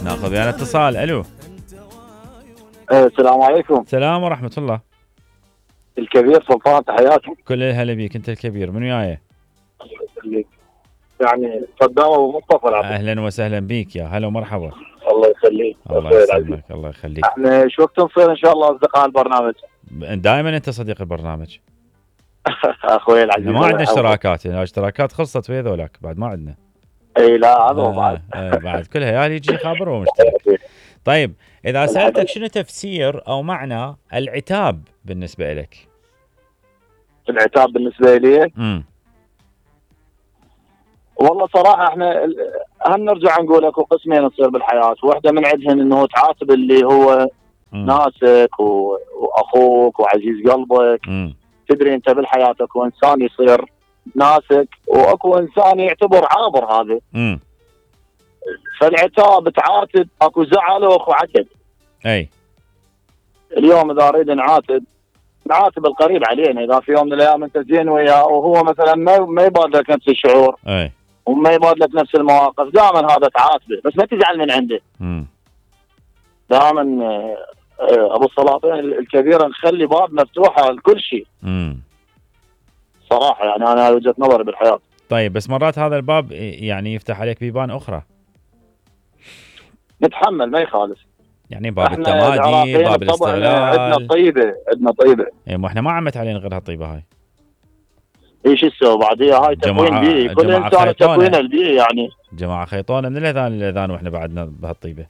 ناخذ يعني اتصال. الو السلام عليكم. السلام ورحمة الله. الكبير سلطان، تحياتي. كل الهلا بيك، انت الكبير، من وياي؟ يعني صدام ابو مصطفى العبد. اهلا وسهلا بيك، يا هلا ومرحبا. الله يخليك. الله يسلمك، الله يخليك. احنا شو وقت نصير ان شاء الله اصدقاء البرنامج؟ دائما انت صديق البرنامج. اخوي العزيز، ما عندنا اشتراكات، الاشتراكات خلصت ويا ذولاك، بعد ما عندنا. اي لا هذا بعد. بعد كلها يا يجي خابر ومشترك. طيب اذا سالتك شنو تفسير او معنى العتاب بالنسبه لك؟ العتاب بالنسبه لي والله صراحه احنا هم نرجع نقول اكو قسمين تصير بالحياه، واحده من عندهن انه تعاتب اللي هو ناسك واخوك وعزيز قلبك. تدري انت بالحياه اكو انسان يصير ناسك واكو انسان يعتبر عابر هذا. فالعتاب تعاتب، اكو زعل واكو عتب. اي اليوم اذا اريد نعاتب القريب علينا، اذا في يوم من الايام انت زين وياه وهو مثلا ما يبادلك نفس الشعور، اي وما يبادلك نفس المواقف، دائما هذا تعاتبه، بس ما تزعل من عنده. دائما ابو السلاطين الكبيره نخلي باب مفتوحه لكل شيء. صراحه يعني انا وجهه نظري بالحياه. طيب بس مرات هذا الباب يعني يفتح عليك بيبان اخرى. نتحمل ما يخالف. يعني باب التمادي، باب الاستغلال. عندنا طيبه. اي ما احنا ما عمت علينا غير هالطيبه هاي. ايش تسوي بعديها؟ هاي تكوين بيئي، كل انسان تكوين البيئي يعني. جماعه خيطونا من الاذان للاذان واحنا بعدنا بهالطيبه.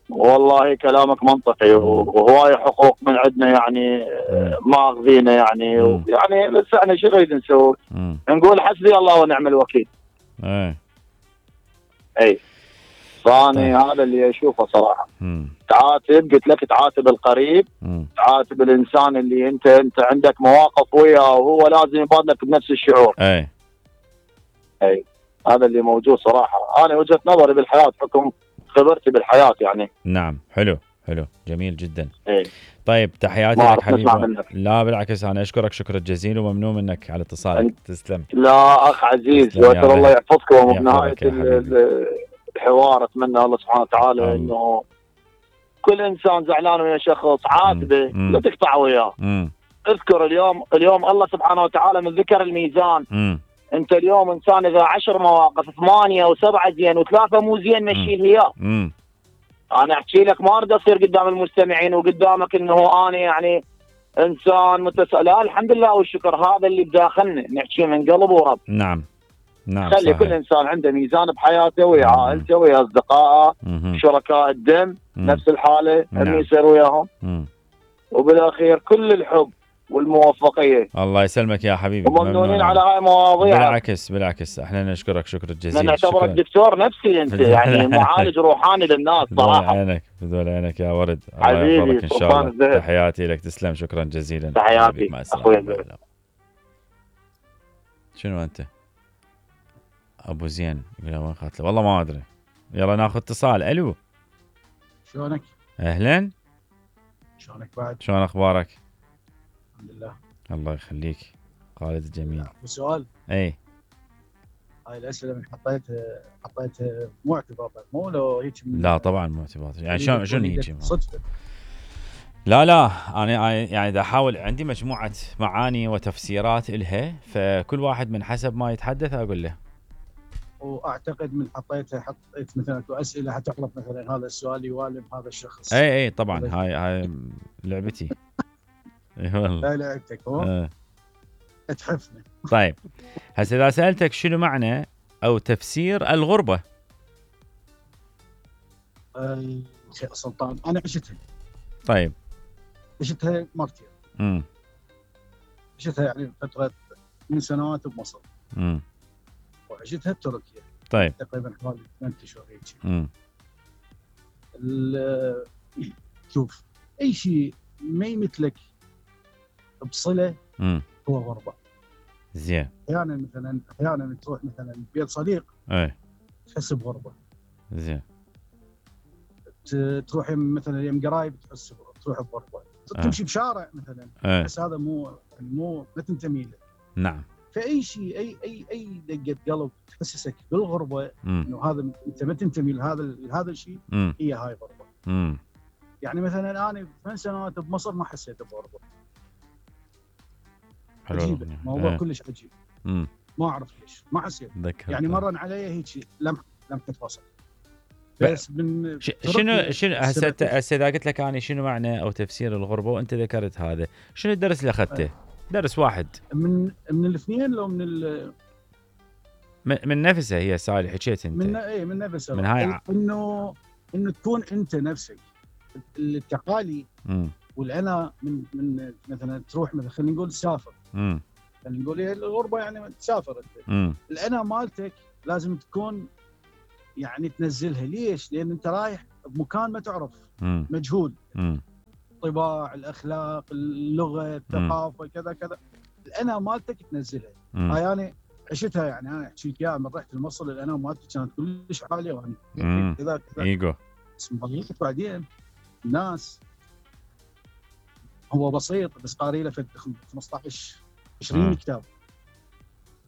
والله كلامك منطقي، وهواي حقوق من عندنا يعني ماخذينه يعني. يعني بس احنا شو نريد نسوي؟ نقول حسبي الله ونعم الوكيل. اي فاني هذا اللي اشوفه صراحه. تعاتب، قلت لك تعاتب القريب، تعاتب الانسان اللي انت عندك مواقف وياه وهو لازم يبادلك بنفس الشعور. اي هذا اللي موجود صراحه. انا وجهه نظري بالحياه حكم خبرتي بالحياه يعني. نعم حلو جميل جدا. طيب تحياتي لك حبيبي. لا بالعكس انا اشكرك شكرا جزيلا وممنون منك على اتصالك. تسلم. لا اخ عزيز، وتر الله يحفظكم. وبنهايه الحوار اتمنى الله سبحانه وتعالى انه كل انسان زعلان ويا شخص عاتبه، لا تقطع وياه. اذكر اليوم الله سبحانه وتعالى من ذكر الميزان. انت اليوم انسان اذا 10 مواقف 8 و7 زين و3 مو زين مشي اياه. انا احكي لك ما اريد اصير قدام المستمعين وقدامك انه انا يعني انسان لا الحمد لله والشكر، هذا اللي بداخلنا نحكي من قلب ورب. نعم خلي صحيح. كل انسان عنده ميزان بحياته ويا عائلته ويا اصدقائه شركاء الدم نفس الحاله اللي يصير وياهم. وبالاخير كل الحب والموفقيه. الله يسلمك يا حبيبي، وممنونين على هاي المواضيع. بالعكس احنا نشكرك شكرا جزيلا. نعتبرك دكتور نفسي انت يعني معالج روحاني للناس صراحه. بدون عينك يا ورد. حبيبي الله يحفظك ان شاء الله. تحياتي لك، تسلم شكرا جزيلا. تحياتي اخوي. شنو انت؟ ابو زين يقول وين قاتله؟ والله ما ادري. يلا ناخذ اتصال. الو شلونك؟ اهلا. شلونك بعد؟ شلون اخبارك؟ الحمد لله. الله يخليك خالد الجميل. سؤال. اي هاي الاسئله من حطيت مو اعتبار مو لو هيك. لا طبعا مو اعتبار. يعني شلون هيك؟ صدفه. لا انا يعني دا احاول، عندي مجموعه معاني وتفسيرات الها، فكل واحد من حسب ما يتحدث اقول له. واعتقد من حطيت مثلا اسئله حتعرف مثلا هذا السؤال يوالم هذا الشخص. اي طبعا هاي لعبتي. اي والله. هاي لعبتك هو. اتحفني. طيب هسه اذا سالتك شنو معنى او تفسير الغربه؟ سلطان انا عشتها. طيب عشتها مرتين. عشتها يعني فتره من سنوات بمصر. وعشتها بتركيا. طيب تقريبا حوالي 8 اشهر هيك. شوف اي شيء ما يمثلك بصله هو غربه. زين. احيانا تروح مثلا بيت صديق تحس بغربه. زين. تروح مثلا يم قرايب تروح بغربه. تمشي بشارع مثلا بس هذا مو ما تنتمي له. نعم. فاي شيء اي دقه قلب تحسسك بالغربه، انه هذا انت ما تنتمي لهذا الشيء، هي هاي غربه. يعني مثلا انا 8 سنوات بمصر ما حسيت بغربه. عجيبه، موضوع كلش عجيب. ما اعرف ليش ما حسيت. يعني مرن علي هيك لمحه فصل. بس من شنو هسه اذا قلت لك انا شنو معنى او تفسير الغربه وانت ذكرت هذا، شنو الدرس اللي اخذته؟ درس واحد من الاثنين لو من نفسها هي سالي حكيت انت من نفسها، من هاي انه تكون انت نفسك. التقالي والانا من مثلا تروح مثلا خلينا نقول تسافر، خلينا نقول الغربه يعني تسافر انت، الانا مالتك لازم تكون يعني تنزلها. ليش؟ لان انت رايح بمكان ما تعرف، مجهول، الطباع، الاخلاق، اللغه، الثقافه، كذا كذا، الانا مالتك تنزلها. هاي انا عشتها. يعني انا احكي لك اياها، من رحت لمصر الانا مالتي كانت كلش عاليه، وانا كذا ايجو. بس بعدين الناس هو بسيط، بس قاري له 15 20 كتاب.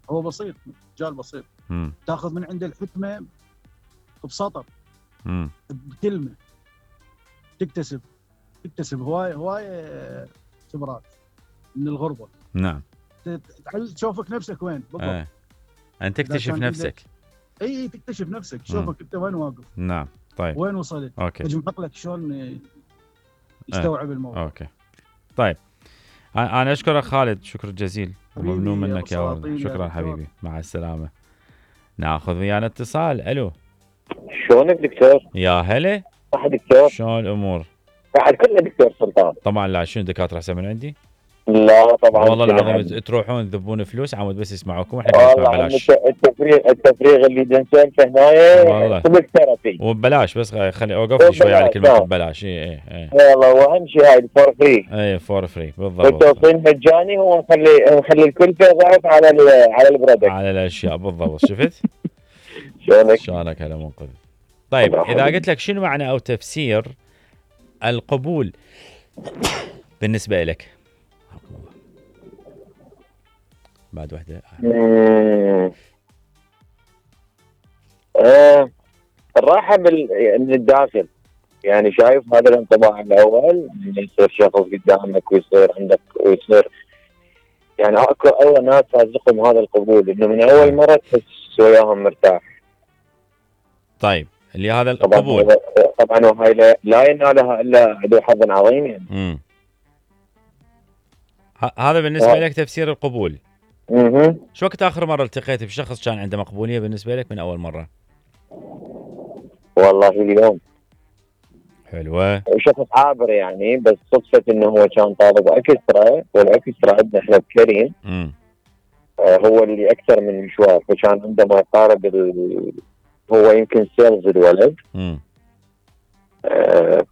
هو بسيط، رجال بسيط. تاخذ من عنده الحكمه بسطر، بكلمه، تكتسب هواي خبرات من الغربه. نعم. تشوفك نفسك وين بالضبط. انت تكتشف نفسك. اي تكتشف نفسك، تشوفك انت وين واقف. نعم. طيب وين وصلت. اوكي. تجمع عقلك شلون يستوعب الموضوع. اوكي طيب، انا اشكرك خالد، شكر جزيل، ممنون منك يا ولد. شكرا حبيبي، مع السلامه. ناخذ ويانا اتصال. الو، شلونك دكتور؟ يا هلا. صح دكتور؟ شلون الامور؟ بعد كله دكتور سلطان. طبعا. لا شنو دكاتره احسن من عندي؟ لا طبعا والله العظيم تروحون تذبون فلوس عمود بس يسمعوكم، واحنا نسمع ببلاش. التفريغ اللي نسولفه هنايا ثيرابي وببلاش، بس خلي اوقف لي شوي على كلمه ببلاش. اي والله، واهم شيء هاي فور فري. اي فور فري بالضبط. التوصيل مجاني، هو نخلي الكلفه ضعف على البرودكت، على الاشياء بالضبط. شفت شلونك هلا منقذ. طيب اذا قلت لك شنو معنى او تفسير القبول بالنسبه لك؟ بعد وحده. الراحه من الداخل. يعني شايف هذا الانطباع الاول، من يصير شخص قدامك ويصير عندك ويصير يعني اكو اول ناس رازقهم هذا القبول، انه من اول مره تحس وياهم مرتاح. طيب اللي هذا القبول طبعا وهاي لا ينالها الا ذو حظ عظيم يعني. هذا بالنسبه لك تفسير القبول. شو وقت اخر مره التقيت بشخص كان عنده مقبوليه بالنسبه لك من اول مره؟ والله اليوم. حلوه. شخص عابر يعني، بس صدفه انه هو كان طالب اكسترا، والاكسترا عندنا احنا بكريم. هو اللي اكثر من مشوار، فكان عنده ما يقارب هو يمكن سيلز الولد.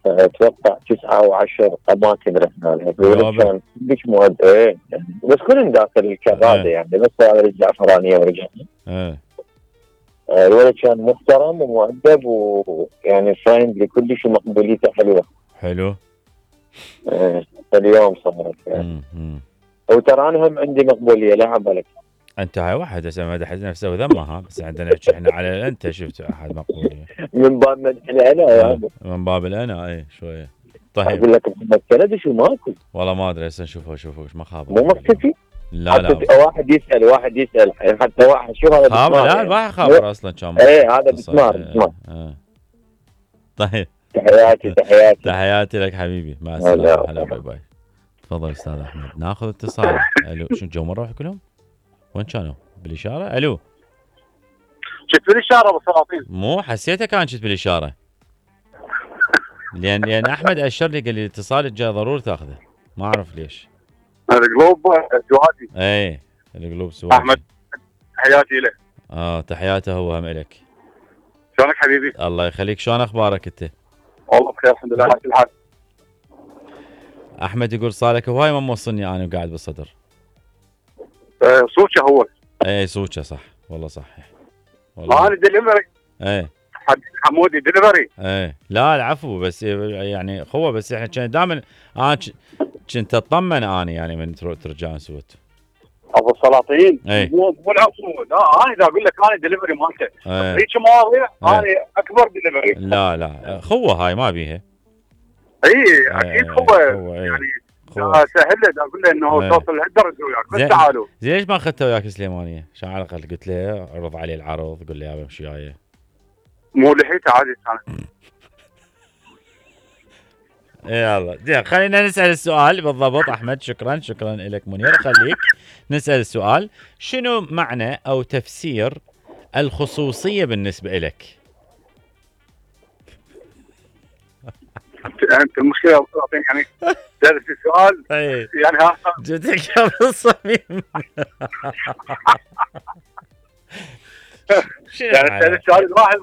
فاتوقع 9 أو 10 اماكن رحنا لها. الولد كان كلش مؤدب يعني، بس كلهم داخل الكراده يعني، بس هذا الزعفرانيه ورجعنا. الولد كان محترم ومؤدب ويعني فريندلي كلش، ومقبوليته حلوه. حلو. اليوم صارت يعني. وترى انا هم عندي مقبوليه، لا عبالك. انت هاي واحد هسه مدح نفسه وذمها، بس عندنا نحكي احنا على انت شفت احد مقبوليه من باب مدح الانا يعني. من باب الانا اي شويه. طيب اقول لك محمد كندي شو ماكو؟ والله ما ادري، هسه نشوفه ما خاب. مو مختفي؟ لا واحد يسال حتى واحد شو هذا خابر. لا الواحد خابر اصلا كان. هذا بسمار. طيب تحياتي لك حبيبي، مع السلامه. هلا باي باي. تفضل استاذ احمد. ناخذ اتصال. الو، شو جو مره كلهم؟ وين كانوا؟ بالاشاره؟ الو، شفت بالاشاره ابو سلاطين؟ مو حسيته كان شفت بالاشاره. لان احمد اشر لي قال لي الاتصال جاء ضروري تاخذه، ما اعرف ليش. القلوب سوادي. اي القلوب سوادي. احمد تحياتي له. تحياته هو هم الك. شلونك حبيبي؟ الله يخليك، شلون اخبارك انت؟ والله بخير الحمد لله، على كل حال. احمد يقول صالك هواي ما موصلني انا وقاعد بالصدر. سوتشه هو. اي سوتشه صح، والله صحيح. والله انا دليفري. حمودي دليفري. لا العفو، بس يعني اخوه، بس احنا كنا دائما انا كنت اطمن انا يعني من ترجعون سوت. ابو السلاطين مو العفو، لا انا اذا اقول لك انا دليفري مالته هيك مواضيع انا اكبر دليفري. لا خوه هاي ما بيها. اي اكيد خوه يعني سهل له اقول له انه توصل لهالدرجه وياك بس تعالوا. زين ليش ما اخذته وياك سليمانيه؟ عشان على الاقل قلت له عرض عليه العرض، قول له يا بمشي وياي. مو لحيته عادي كانت. يلا زين خلينا نسال السؤال بالضبط. احمد شكرا لك منير. خليك نسال السؤال، شنو معنى او تفسير الخصوصيه بالنسبه لك؟ انت المشكله يعني درس السؤال يعني ها جدك يا بالصميم. يعني السؤال الواحد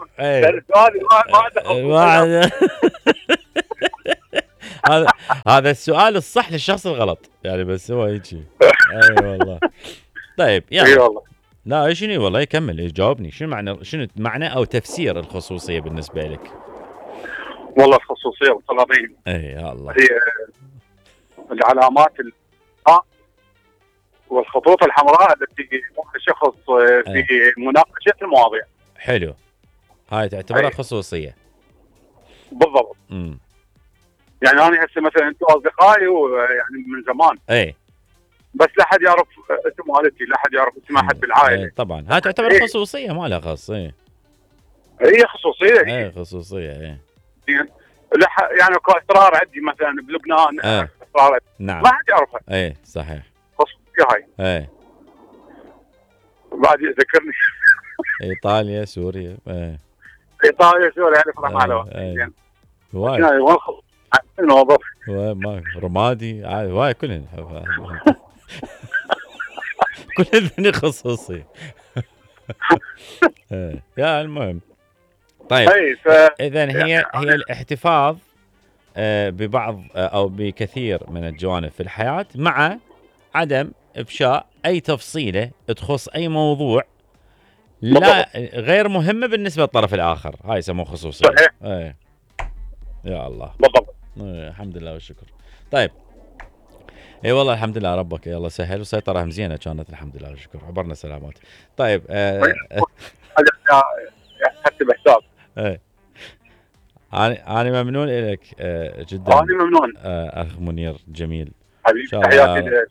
ما عنده هذا السؤال الصح للشخص الغلط يعني، بس هو هيك. اي والله. طيب يلا. والله لا شنو والله يكمل جاوبني. شنو معنى او تفسير الخصوصيه بالنسبه لك؟ والله الخصوصيه والسلاطين يا الله هي العلامات والخطوط الحمراء التي يوقع الشخص في مناقشه المواضيع. حلو، هاي تعتبرها خصوصيه بالضبط. يعني انا هسه مثلا انتم اصدقائي ويعني من زمان بس لا حد يعرف اسم والدتي، لا حد يعرف اسم احد بالعائله. طبعا هاي تعتبر خصوصيه ما لها خاص. هي خصوصيه. خصوصيه يعني اكو اسرار عندي مثلا بلبنان اسرار نعم ما حد يعرفها. صحيح خصوصيه هاي. بعد يذكرني ايطاليا سوريا. ايطاليا سوريا يعني فرح على زين واي الموظف ما رمادي واي كلهن كلهن خصوصي. يا المهم طيب اذا هي الاحتفاظ ببعض او بكثير من الجوانب في الحياه مع عدم افشاء اي تفصيله تخص اي موضوع لا غير مهمه بالنسبه للطرف الاخر. هاي يسموه خصوصيه. يا الله بالضبط. الحمد لله والشكر. طيب اي والله الحمد لله ربك يلا سهل وسيطره زينه كانت الحمد لله والشكر. عبرنا سلامات. طيب حتى بحساب انا ممنون لك جدا. انا ممنون اخ منير جميل حبيبي.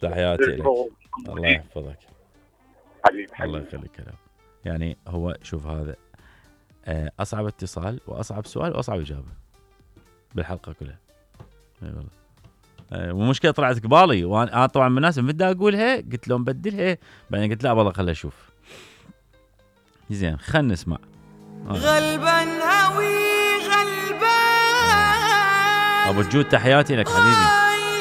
تحياتي لك. الله يحفظك حبيبي. الله يخليك. كلام يعني هو شوف هذا اصعب اتصال واصعب سؤال واصعب اجابه بالحلقه كلها. اي والله. ومشكله طلعت قبالي وانا طبعا مناسب بدي اقولها قلت لهم بدلها بعدين قلت لا والله خليها اشوف. زين خلينا نسمع. غلبان هوي غلبان ابو الجود تحياتي لك حبيبي.